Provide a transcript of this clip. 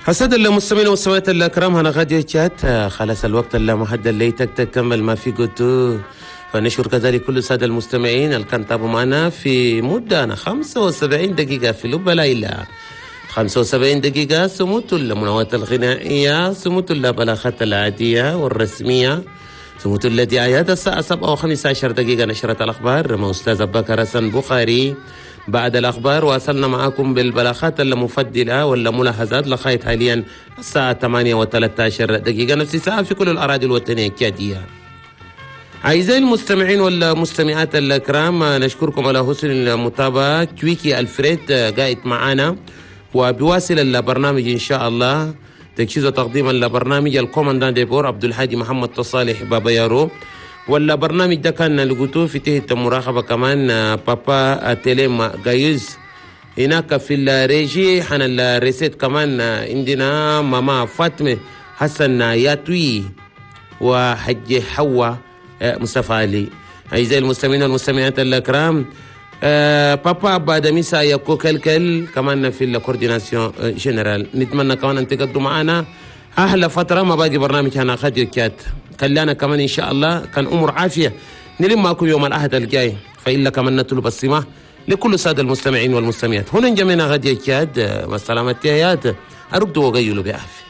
السادة المستمعين والمستمعات الكرام، هنا راديو تشاد، خلاص الوقت المحدد اللي تكمل ما في قلت. فنشكر كذلك كل السادة المستمعين اللي كان تابعوا معنا في مدة 75 دقيقة في لب ليلى، 75 دقيقة سموت المناوات الغنائية، سموت البلاغات العادية والرسمية، سموت الدعايات. الساعة 7:15 نشرة الأخبار مع أستاذ بكر حسن بخاري. بعد الأخبار واصلنا معكم بالبلاغات المفضلة والملاحظات لغاية حاليا الساعة 8:13، نفس الساعة في كل الأراضي الوطنية التشادية. أعزائي المستمعين والمستمعات الكرام، نشكركم على حسن المتابعة. كويكي الفريد قاعد معنا وبيواصل البرنامج إن شاء الله. تجهيز وتقديم البرنامج ال commandant de bord عبد الهادي محمد تصالح بابا يارو. والبرنامج ده كان لقيتوه في تحت مراقبة كمان بابا تيليم جايز هناك في ال régie. حنا ال recette كمان عندنا ماما فاطمة حسن ياتوي وحج حوا مصطفى علي. أعزائي المستمعين والمستمعات الكرام، بابا بادميسا يكو كلكل كمان في ال coordination générale. نتمنى كمان أن تقضوا معنا أحلى فترة ما باقي برنامج هنا راديو تشاد. خلانا كمان إن شاء الله كان أمور عافية نلم معكم يوم الأحد الجاي، فإلا كمان نطلب السماح لكل السادة المستمعين والمستمعات. هنا جميعنا راديو تشاد، والسلامة. تحيات، أرقدوا وقيلوا بعافية.